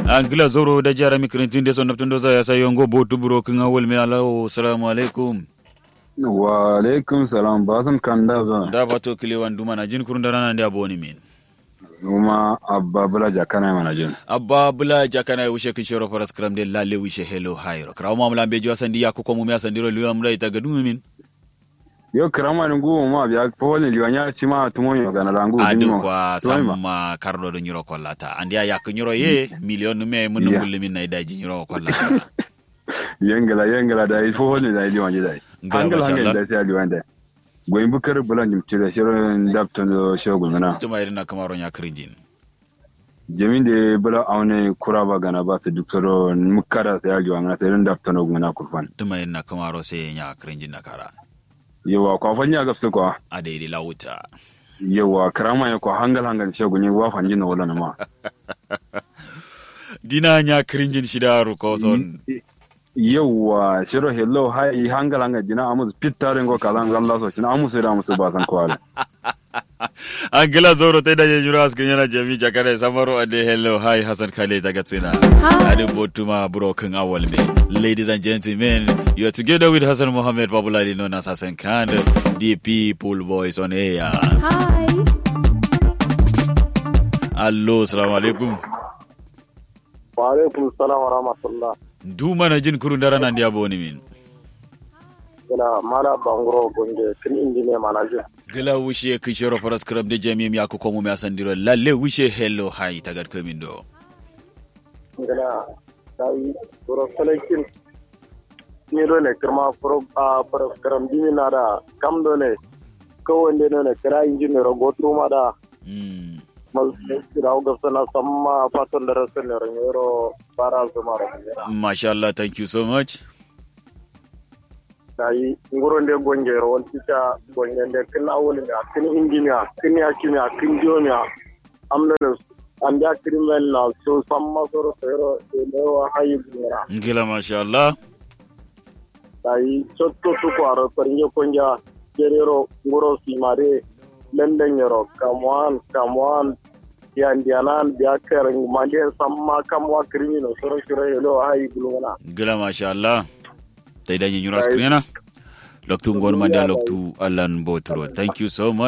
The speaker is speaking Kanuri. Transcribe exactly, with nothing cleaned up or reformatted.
Angla zoro da jara mi kirintin de son naptun do za ya sayo ngo botu buro kin awol me alawo salamu alaikum. Wa alaikum salam basun kan da zan da bato kilewan duma na jin kurun da rana da boni min. Numa abba bula jakana mana jin. Abba bula jakana ya wushe kin shoro faras kram de lalle wushe hello hairo krawo mamula be jiwa sandi ya kuko mu me asandi ro liwa mula ita ga dumi min. Yo kirama ni ngu ma biya fowol ni liwanya cima tumo yo gana langu adu kwa samma kardo do nyiro kollata andiya yak nyiro ye miliyon nume mun ngullumin na idaji nyiro kollata. Yengala yengala da fowol ni da liwanya da. Ngala hangala hangala da sai liwanya da. Goyin bukar bulan jim tire shiro ndaptono shiro gulmana tuma irin na kamaro nya kirinjin. Jamin de bula aune kura ba gana ba su duk soro mukkada sai aliwa ngana sai dun daptano ngana kurfan. Tuma yin na kamaro sai nya kirinjin na kara. Yawa kwa fanya gafsu kwa. A daidai lawuta. Yawa karama ya kwa hangal hangal shi gunyi wa fanji na wala ma. Dina nya kirinjin shida ruko son. Yauwa shiro hello hai hangal hangal jina amus pittare ngo kala ngal laso cina amus da amus ba san kwale. Angila zoro tai da je jura askin yana jami jakare samaro ande hello hai hasan kale daga tsina. Adi botuma buro kan awal me. Ladies and gentlemen, you are together with Hassan Mohammed, popularly known as Hassan Khan, the people voice on air. Hi. Allo salamu alaikum. Wa alaikum salam wa rahmatullah. Ndu mana jin kuru ndara nandi abo ni min. Gila mala banguro gonge kin indi ne mana jin. Gila wushe kin shero faras kram de jami'im ya ku komu me asandiro lalle wushe hello hai tagad kamin do. Gila dai buro kalakin. Ni do ne kirma furo a faras kram dimi na da kam do ne. Kawai ne do ne kira injin ne rogo tuma da. Masu kira ga sana samma fatan da rasan ne ranyero bara zuma ranyero. Masha Allah, thank you so much. Dayi nguro nde gonge ro wal tita gonge nde kin awul ne kin indi ne kin yaki ne kin diyo ne. Amna ne an da krimen na so samma soro sero ne wa hayi ne. Ngila masha Allah. Dayi cotto tukwaro farnge konja jerero nguro simare lendanyero kamuwan kamuwan yandiyanan biya kar mande samma kamwa kirmino soro shiro helo ayi gulungana. Gila masha Allah. Tai danyi nyura skrinana. Loktu ngon mande loktu allan botro, thank you so much.